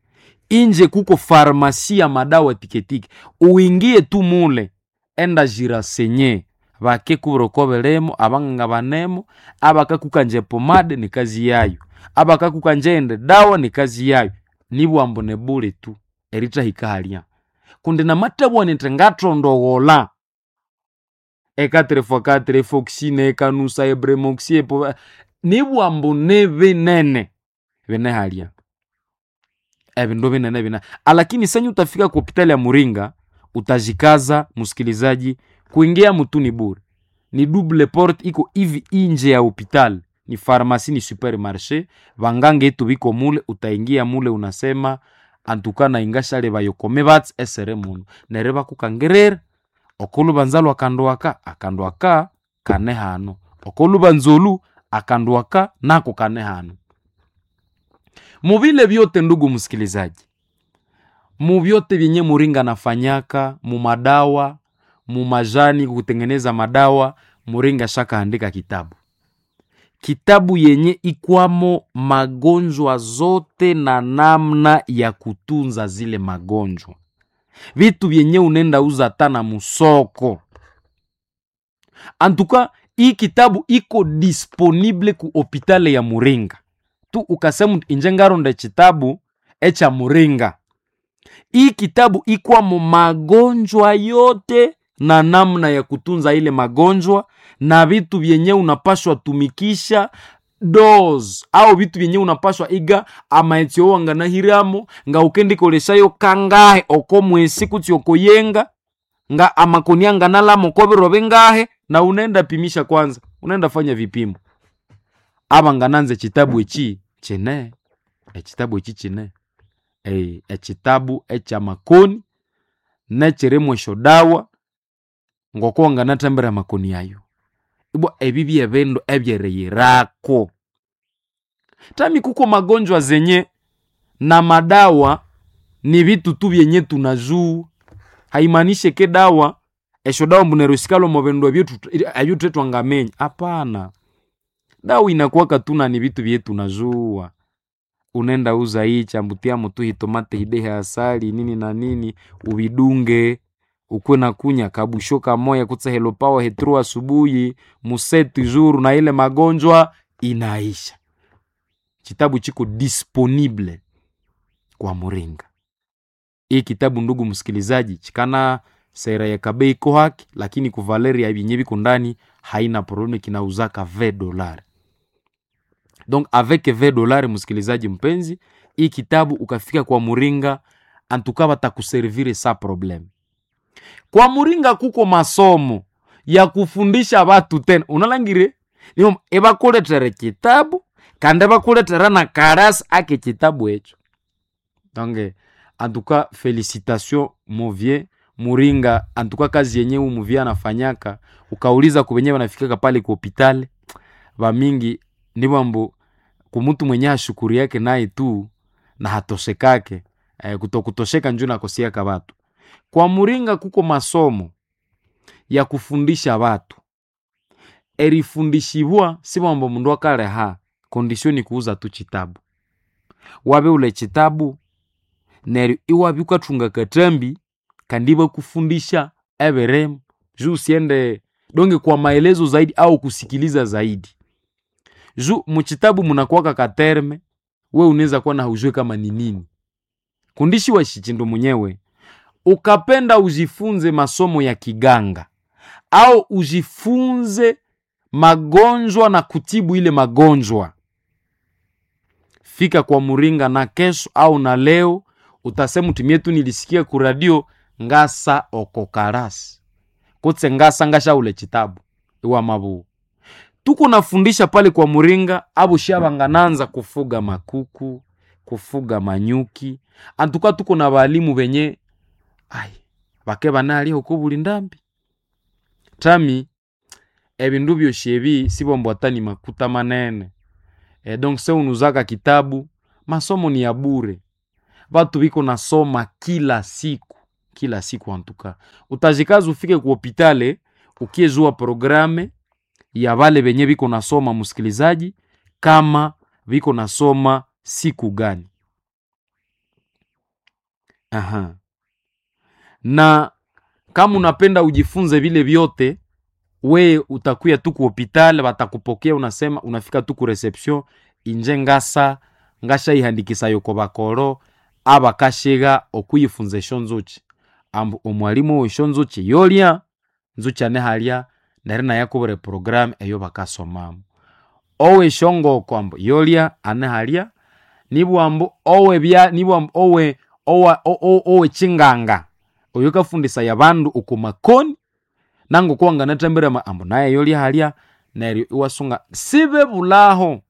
inje kuko farmasi ya madawa tiketike, uingie tu mule, enda jirasenye vake kurokovelemo abanganga banemo abakakukanje pomade ni kazi yayo, abakakukanje ende dawa ni kazi yayo, nibwambo nebule tu eritahika halya kundi namatabwa nti ngathondogola ekatrefakatre efoxine ekanusa ebremoxi epo nibwambo nebinene bine halya ebindu binene bine, alakini senye utafika ku hopitali ya Muringa utajikaza msikilizaji, kuingia mutu ni bure, ni double porte iko hivi inje ya hopital, ni farmasi ni supermarché, vangange etu biko mule, utaingia mule unasema antuka na ingashale bayokome bats esere muno nere bakukangerera okolubanza lwakandu aka akandu aka kane hano okolubanza olu akandu aka nako kane hano. Muvile vyote ndugu msikilizaji, muvyote vyenye Muringa nafanyaka mumadawa mumajani kutengeneza madawa, Muringa shakaandika kitabu, kitabu yenye ikwamo magonjwa zote na namna ya kutunza zile magonjwa, vitu vyenye unenda uza hata na musoko. Antuka hii kitabu iko disponible ku hopitale ya Muringa tu, ukasema inje ngaronda chitabu echa Muringa. Hii kitabu ikwamo magonjwa yote na namna ya kutunza ile magonjwa na vitu vyenye unapashwa tumikisha dos au vitu vyenye unapashwa iga amaetsi owanganahiramo nga ukendikoleshayo kangahe oko mwesi kutsi okoyenga nga amakoni anganalamo kobiro bingahe, na unaenda pimisha kwanza, unaenda fanya vipimo aba ngananze chitabu echi chine ekitabu echi chine ekitabu ekyamakoni nekirimwo esyodawa ngoko wanganathambira amakoni ayo. Ibwa ebi byebindu ebyeriyirako. Tami kuko magonjwa zenye na madawa ni vitu tu vyenye tunajua, haimanishe ke dawa esyo dawa mbu neryo sikalwa omo bindu ebyo twangaminya. Hapana, dawa inakuwaka tuna ni vitu vye tunajua. Unaenda uza hii chambutia mutu hitomate hidehe asali nini na nini uvidunge ukuwe na kunya kabusho kamoya kutse helopawa hetru asubuhi museti juru na ile magonjwa inaisha. Kitabu chiko disponible kwa Muringa. Hii kitabu ndugu msikilizaji, chikana sera ya kabei iko haki, lakini ku Valeria ibinye biko ndani haina probleme, kinauzaka $20. Donc avec $20 msikilizaji mpenzi, hii kitabu ukafika kwa Muringa antuka batakuservire sa probleme. Kwa Muringa kuko masomo ya kufundisha watu tena, unalangire niyo ebakuletere kitabu kandi bakuletera na karasi ake kitabu echo. Donc en tout cas félicitations mon vieux Muringa, en tout cas kazi yenye huyu muvie anafanyaka, ukauliza kubenye wanafikaka pale ku hospitali bamingi ni bambo kumutu mwenye ashukuri yake naye tu na hatoshekake kutokutosheka njo nakosiaka batu. Kwa Muringa kuko masomo ya kufundisha watu erifundishibwa si bambo mundu akaleha kondisio ni kuuza tu chitabu wabe ule chitabu neryo iwabya ukathunga katambi kandi bakufundisha eberemu juu usiende donge kwa maelezo zaidi au kusikiliza zaidi juu muchitabu munakuwaka katerme we unaweza kuwa na haujue kama ni nini kundishi wa shichindu mwenyewe ukapenda ujifunze masomo ya kiganga au ujifunze magonjwa na kutibu ile magonjwa, fika kwa Muringa na kesho au na leo utasema tumie tu nilisikia ku radio ngasa okokarasi kutse ngasa ngasha ule chitabu iwa mabu tuko nafundisha pale kwa Muringa abo shabangananza kufuga makuku kufuga manyuki antuka tuko na balimu benye ai bake banali huko buli ndambi tami ebindu byoshe ebi sibombo atani makuta manene donc se unuzaka kitabu masomo ni ya bure. Batu biko nasoma kila siku, kila siku antuka. Utajikaza ufike ku hopitale ukiezua programme ya vale venye viko nasoma, msikilizaji, kama viko nasoma siku gani. Aha. Na kama unapenda ujifunze vile vyote, we utakuya tu ku hopitale, watakupokea unasema, unafika tu ku reception inje ngasa ngasha ihandikisa yoko bakoro abakashiga okuyifunza esyo nzuki, ambu omwalimu w'esyo nzuki yolya nzuki ane halya neryo inayakubwira eprogramu eyo bakasomamu. Ow'esyongoko ambu yolya ane halya, nibwa ambu ow'ebya nibwa ambu owe owa ow'ekyinganga oyukafundisaya abandu oko makoni nangoko wanganathambira ambu naye yolya halya, neryo iwasunga sibebulhaho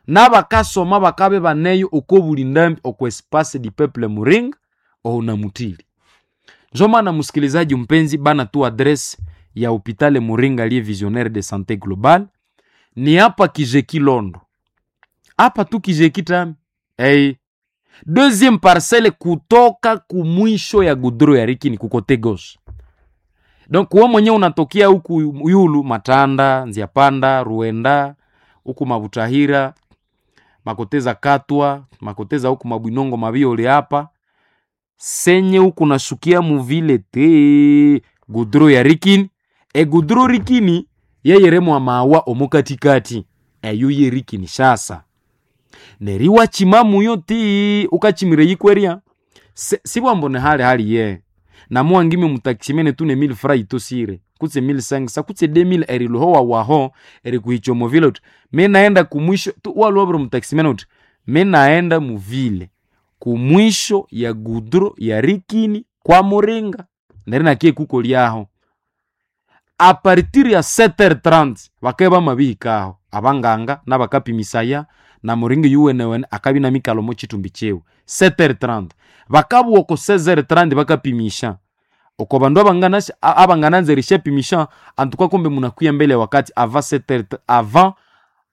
n'abakasoma bakabya ibaneyo oko buli ndambi oko espace du peuple muringa ohunamuthili. Njo maana msikilizaji mpenzi, bana tu adresse ya hopitale Muringa liye visionnaire de santé globale ni hapa Kijeki Londo, hapa tu Kijeki tami hey. Deuxième parcelle kutoka kumwisho ya gudro ya Rikini kukote gauche. Donc wewe mwenyewe unatokea huku Yulu, Matanda, Nziapanda, Ruenda, huku Mabutahira, Makoteza Katwa, Makoteza huku Mabwinongo Mabiole hapa senye huku nashukia muvile te gudro ya Rikini, e gudro Rikini yeyeremwa mawa omukatikati eyo ye Rikini shasa neriwa chimamuyo ti ukachimire yikweria sibwambo ne hali hali ye namuwangime mutakishimene tune 1000 fra itosire kutse 1500 kutse 2000 eriluhowa waho erikuhicha muvile uti minaenda kumwisho tu waluwabire mutakishimene uti minaenda muvile kumwisho ya gudro ya Rikini kwa Muringa neri nakie kuko lyaho a partir ya 7h30 bakae bamabihikaho abanganga n'abakapimisaya na muringa yuwenewene akabya inamikala omo chitumbi kyiwe 7h30 bakabugha oko 16h30 bakapimisha oko bandu abangananza erishapimisha antuka kumbe munakuya mbele ya wakati avant 7h avant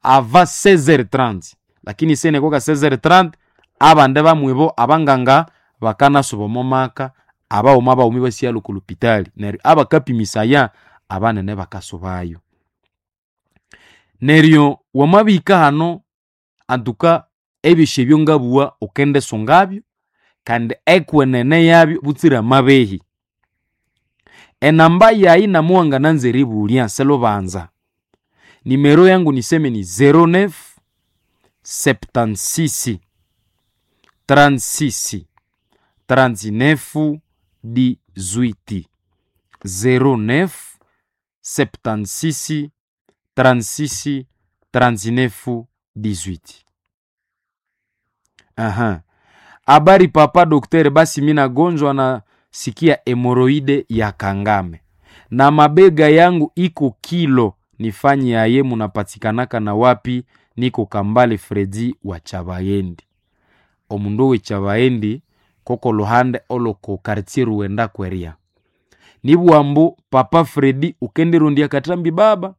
avant 16h30 lakini sene koka 16h30 abande bamwibo abanganga bakanasuba omo maka abaghuma baghuma ibasighalo oko lupitali neryo abakapimisaya abanene bakasubayo. Neryo wamabihika hano antuka ebyosi ebyo ngabugha ukendisungabyo kandi ekwenene yabyo butsira amabehi. Enamba yayi namuwangananza eribulya silubanza, nimero yangu niseme ni 09 76 36 39 18 09 76 36 39 18. Aha. Habari papa dokter, basi mi nagonjwa na sikia hemoroide ya kangame na mabega yangu iko kilo, nifanye aye? Munapatikanaka na wapi? Niko Kambale Fredi wa Chabayendi. Omundu we Chabayendi koko luhande oloko quartier Ruenda kweria nibwambu papa Fredi ukendirundia katambi baba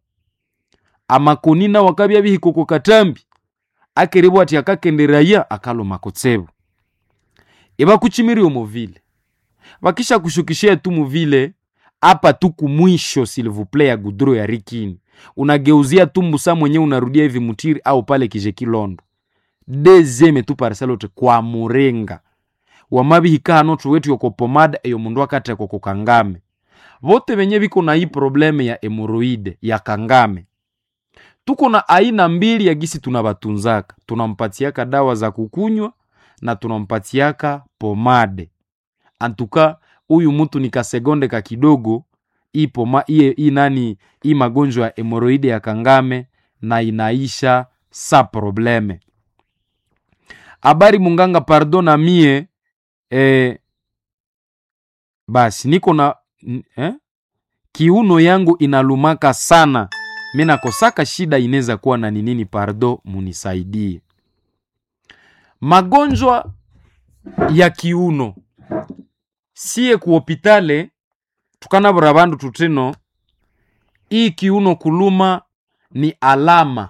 amakonina wakabya bihikoko katambi akeribwa ati akakenderaya akaloma kutsebu ibakuchimiri omovile bakisha kushukishia tu muvile apa tu kumwisho s'il vous plaît ya gudro ya Rikini unageuzia tu mbusa mwenye unarudia hivi mutiri au pale Kijekilondo deuxième tu parcelle ote kwa Murenga wamabihika hano tuwetu yoko pomada eyo mundu akatekwa ku kangame vote venye viko na hii probleme ya hemoroide ya kangame tuko na aina mbili ya gisi tunabatunzaka, tunampatiaka dawa za kukunywa na tunampatiaka pomade. Antuka huyu mtu ni kasegonde ka kidogo ipoma iye i nani i magonjwa ya hemoroide ya kangame na inaisha sa probleme. Habari munganga, pardon na mie basi niko na kiuno yangu inalumaka sana, mi nakosaka shida inaweza kuwa na ni nini? Pardo, munisaidie. Magonjwa ya kiuno siye kuhopitale tukanabura bandu tutino, hii kiuno kuluma ni alama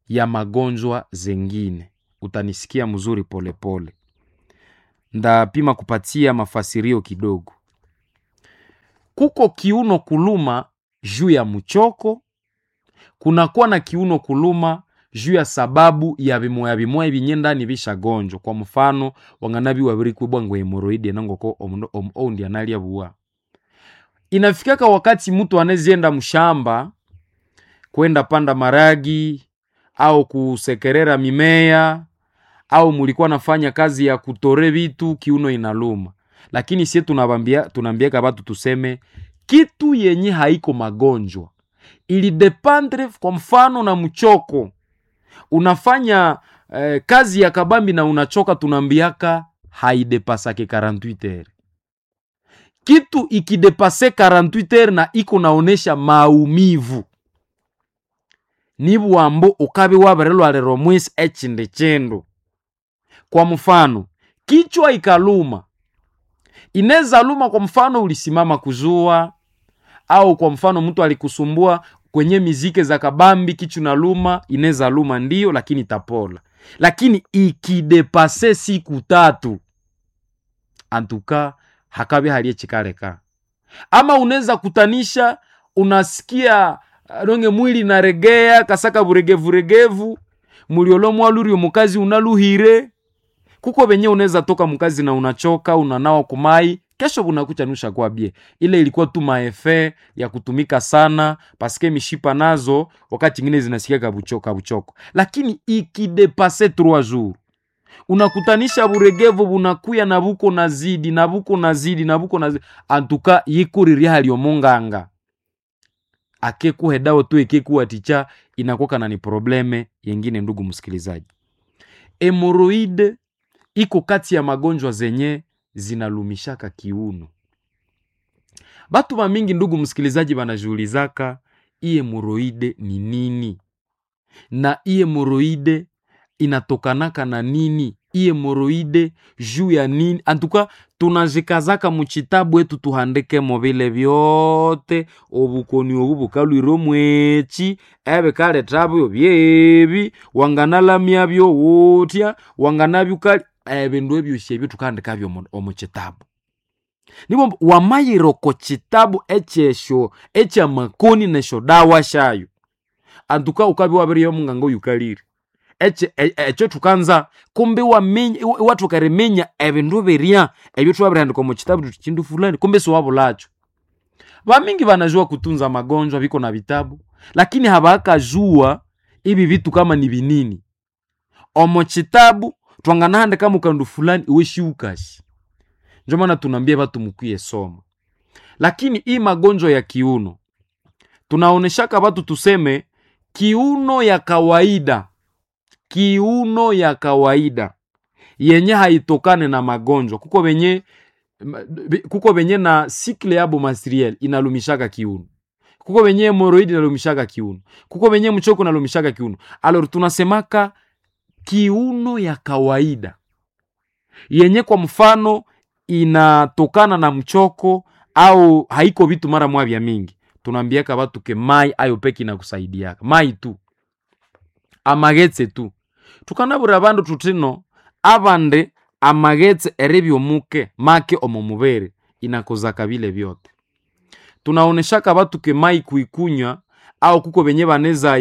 ya magonjwa zengine. Utanisikia mzuri polepole. Ndapima kupatia mafasirio kidogo. Kuko kiuno kuluma juu ya mchoko, kunakuwa na kiuno kuluma juu ya sababu ya bimoya bimoya binyendani bishagonjwa. Kwa mfano wanganabi wabirikubwa ngo hemoroidi enangoko omundu oundi analya buwa. Inafikaka wakati mtu anezienda mshamba kwenda panda maragi au kusekerera mimea au mulikuwa nafanya kazi ya kutore vitu, kiuno inaluma. Lakini sie tunabambia tunaambiaka batu tuseme kitu yenye haiko magonjwa ilidependre kwa mfano na mchoko unafanya kazi ya kabambi na unachoka, tunaambiaka haidepasake 48 heures. Kitu ikidepase 48 heures na iko naonesha maumivu ni bwambo ukabi wabirilwalira omwisi ekindi kindu. Kwa mfano kichwa ikaluma, inaweza luma kwa mfano ulisimama kuzua, au kwa mfano mtu alikusumbua kwenye mizike za kabambi, kichwa naluma, inaweza luma ndiyo, lakini itapola. Lakini ikidepase siku tatu, antuka hakabi halie chikaleka. Ama unaweza kutanisha, unasikia donge mwili naregea kasaka buregevu muliolo mwalurio mukazi unaluhire kuko benye unaweza toka mkazi na unachoka unanawa kumai kesho bunakucha nusha kwa bie. Ile ilikuwa tu maefe ya kutumika sana paske mishipa nazo wakati ingine zinasikia kabuchoko buchoko, lakini ikidepase 3 jours unakutanisha buregevu bunakuya na buko nazidi na buko nazidi na buko nazidi, antuka yikuriria halio munganga akekuhe dawa tu ikekuwa ticha inakuwa na ni probleme yengine. Ndugu msikilizaji, hemoroide iko kati ya magonjwa zenye zinalumishaka kiuno. Batu ba mingi, ndugu msikilizaji, banajiulizaka hii hemoroide ni nini na hii hemoroide inatokanaka na nini? Hii hemoroide juu ya nini? Antuka tunajikazaka muchitabu etu tuhandikemo vile vyote obukoni obu bukalwire omwechi ebikalethabyo byebi wanganalamya wutya wanganabyukali ebindu ebyosi ebyo tukahandikabyo omu kitabu. Nibo wamayira oko kitabu ekyesyo ekyamakoni nesyo dawa syayo antuka ukabya wabiriya omunganga oyukalire ekyo thukanza kumbe iwaminya iwathoka eriminya ebindu birya ebyo thwabirihandika omu kitabu thuthi kindu fulani kumbe siwabulakyo. Bamingi banajua kutunza magonjwa biko na vitabu lakini habakajua ibi vitu kama ni binini. Omu kitabu twanganahandika mukandu fulani iwe shiukasi. Ndio maana tunaambia batu mukwiye soma. Lakini hii magonjwa ya kiuno tunaoneshaka batu tuseme kiuno ya kawaida, kiuno ya kawaida yenye haitokane na magonjwa. Kuko benye na cycle yabo menstruel inalumishaka kiuno, kuko benye hemoroid inalumishaka kiuno, kuko benye mchoko inalumishaka kiuno. Alors tunasemaka kiuno ya kawaida yenye kwa mfano inatokana na mchoko au haiko vitu mara mwa vya mingi, tunaambiaka batu ke mai ayo peke inakusaidiaka mai tu amagetse tu tukanabura bandu tutino abande amagetse eribyomuke make omo mubere inakozaka bile vyote. Tunaoneshaka batu ke mai kuikunywa au kuko benye baneza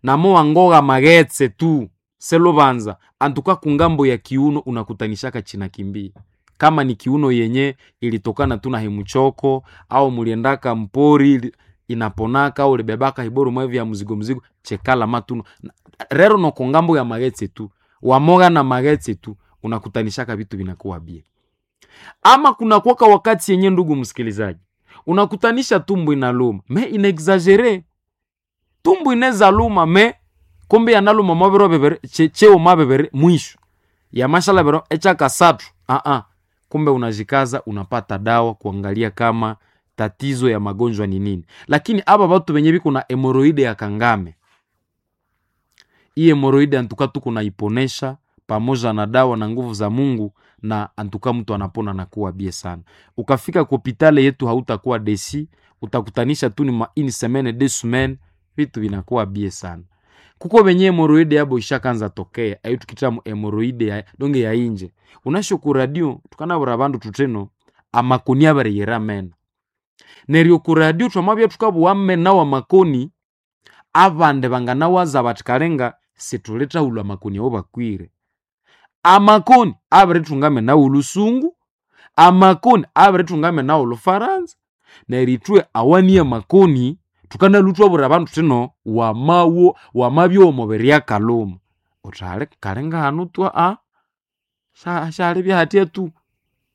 namo wangoga magetse tu selobanza antuka kungambo ya kiuno unakutanishaka china kimbia kama ni kiuno yenye ilitokana tu na hemuchoko au muliendaka mpori inaponaka au libebaka hiboru mwevi ya mzigo mzigo chekala matuno rero no kongambo ya magetse tu wamoga na magetse tu unakutanishaka vitu vinakuwa bie. Ama kuna kuwaka wakati yenye, ndugu msikilizaji, unakutanisha tumbo inaluma me inexagere tumbo ineza luma me kumbe yanaluma mabero bebere cheo mabebere mwisho ya mashala bero echaka satu kumbe unajikaza unapata dawa kuangalia kama tatizo ya magonjwa ni nini. Lakini aba batu benye biko na hemoroide ya kangame, hii hemoroide antuka tuko naiponesha pamoja na dawa na nguvu za Mungu, na antuka mtu anapona na kuwa bie sana. Ukafika kwa hopitale yetu hautakuwa desi, utakutanisha tu ni ma une semaine deux semaines, vitu vinakuwa bie sana. Kuko benye hemoroide yabo ishakanza tokea ayo tukitamu hemoroide ya donge ya inje. Unasho ku radio tukanabura abandu tuteno amakoni abariyera mena. Neryo ku radio twamabya tukabuwa mena wa makoni abandi banganawaza bati kalenga situlithahulha amakoni awo bakwire. Amakoni abirithunga mena w'olusungu, amakoni abirithunga mena w'olufaransa, neryo ithwe awaniye amakoni thukanalwa thwabwira abandu thuthi wamawo wamabya w'omubiri akalhuma. Uthi hali kalinga hanu tu syalibya hatya tu.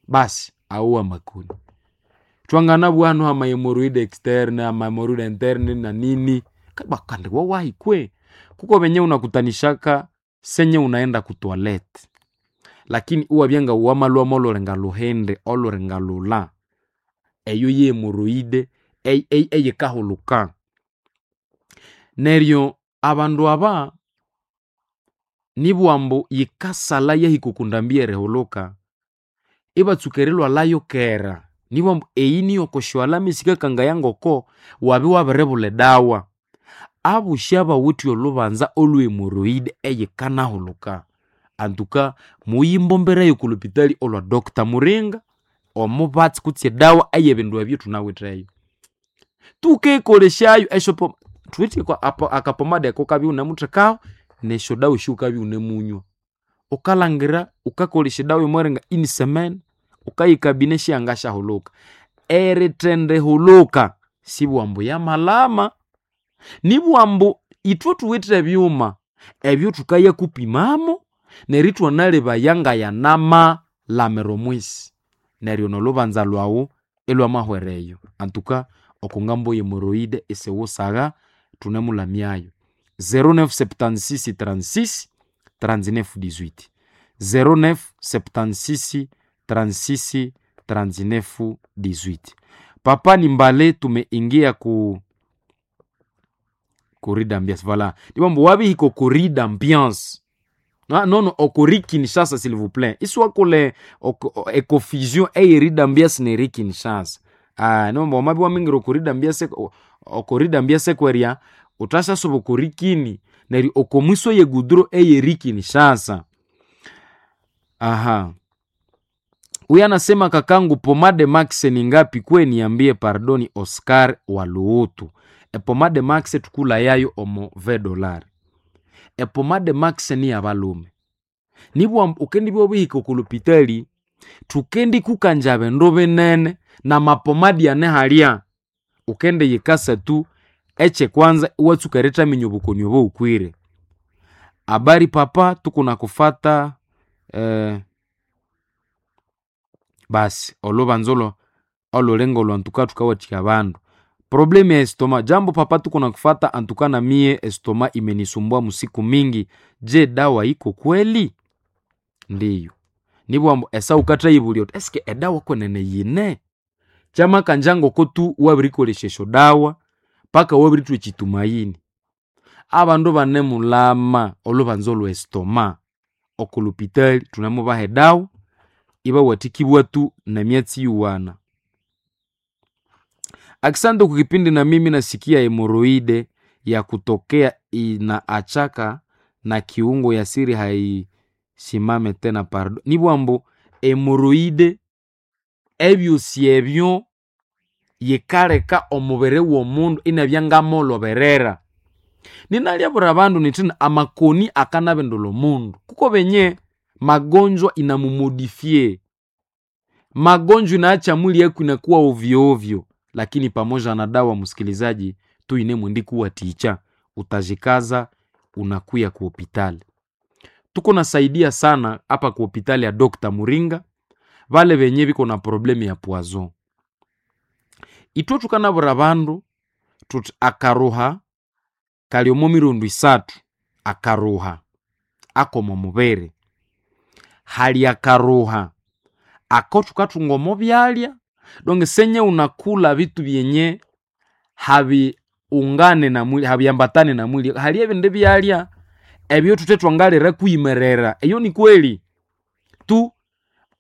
Basi awo amakoni. Thwanganabugha hanu hama hemoroide externe, ama hemoroide interne na nini kandi wawahi kwe. Kuko benye unakutanishaka senye unaenda ku toilet lakini iwabya nga wamalhwa molhulinga lhuhindi olhulinga lhulha eyo ye hemoroide eyikahuluka. Neryo abandu aba nibugha ambu yikasalha yahika oko ndambi y'erihuluka ibatsuka erilhwalhayo kera. Nibugha ambu eyi niyo kosyo alama esikakangaya ngoko wabya wabiribulha edawa. Abosi abawithe olhubanza olwe hemoroide eyikanahuluka antuka muyimbomberayo oko lhupitali olwa Doctor Muringa omubatsi kutse edawa ey'ebindu ebyo thunawitheyo. Thukekolesyayo esyopo thuwithe akapomada ako wukabya iwunemuthekaho nesyodawa esyowukabya iwunemunywa. Wukalhangira wukakolesya edawa y'omweringa ini semene wukayikabine syangasyahuluka. Erithendihuluka sibugha ambu yamalhama, nibugha ambu ithwe thuwithe ebyuma ebyo thukayakupimamo neryo ithwanalebaya ngayanamalamira omwisi. Neryo nolhubanza lhwawu ilhwamahwera eyo. Antuka oko ngambo y'hemoroide isiwusagha thunemulhamyayo. 0976 36 39 18 0976 36 39 18. Papa ni mbale tumeingia ku corrida ambiance voilà. Nibugha ambu wabihika oko corrida ambiance nono oko Kinshasa s'il vous plaît. Isiwakole econfusion ey'erida ambiance n'eri Kinshasa. Nibugha ambu wamabya iwamingira oko rida ambiance oko rida ambiance kwerya wuthasyasuba oko rikini neryo oko mwiso y'egudro ey'eri Kinshasa. Huyu anasema kakangu pomade max ni ngapi kwe niambie pardoni Oscar wa Luhutu. Epomade max thukulhayayo omo $20. Epomade max niyabalhume. Nibugha ambu wukendibya wabihika oko lhupitali thukendikukangya bindu binene namapomadi ane halya. Wukendiyikasa tu ekyekwanza iwatsuka erithaminya obukoni obowukwire. Habari papa tukunakufata basi olhubanza olhulinga olhu antuka thukawathikya abandu. Problemu ya estoma, jambo papa tukunakufata antuka na miye estoma imenisumbua musiku mingi, je dawa iko kweli? Ndiyo. Nibugha ambu esaha wukathayibulya wuthi eske edawa kwenene yine? Kyamakanja ngoko tu wabirikolesya esyodawa paka wabirithwa ekyitumayini. Abandu banemulhama olhubanza olwe estoma oko lhupitali thunemubaha edawa ibawathikibwa tu nemyatsi iyowana. Akisante kukipindi na mimi nasikia hemoroide ya kutokea inaachaka na kiungo ya siri haisimame tena pardo. Nibugha ambu hemoroide ebyosi ebyo yikaleka omubiri w'omundu inabya ngamolhoberera. Ninalyabwira abandu nyithina amakoni akanabindulha omundu. Kuko benye magonjwa inamumodifie. Magonjwa inaacha mwili yako inakuwa ovyo ovyo, lakini pamoja na dawa msikilizaji, tuinemwendikuwathikya utajikaza unakuya ku hopitali. Tuko nasaidia sana hapa ku hopitali ya Dr. Muringa vale benye biko na problemu ya poison. Ithwe thukanabwira abandu thuthi akaruha kali omo mirundi isathu akaruha ak'omo mubiri. Hali akaruha ako thukathunga omo byalya donc senye unakulha bitu byenye habiungane na mwili habiambatane na mwili. Hali ebindi byalya ebyo thuthe thwangalira kwimerera eyo ni kweli tu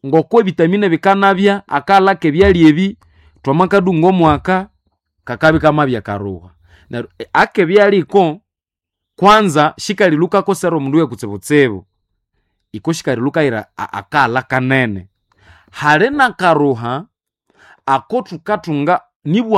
ngoko ebitamine bikanabya akalha k'ebyalya ebi thwamakadunga omwaka kakabya ikamabya karuha. Neryo akebyalya iko. Kwanza shikalilukako sera omundu wekutsibutsibu, iko shikalilukaira akaghala kanene. Hali nakaruha ako thukathunga nibwa.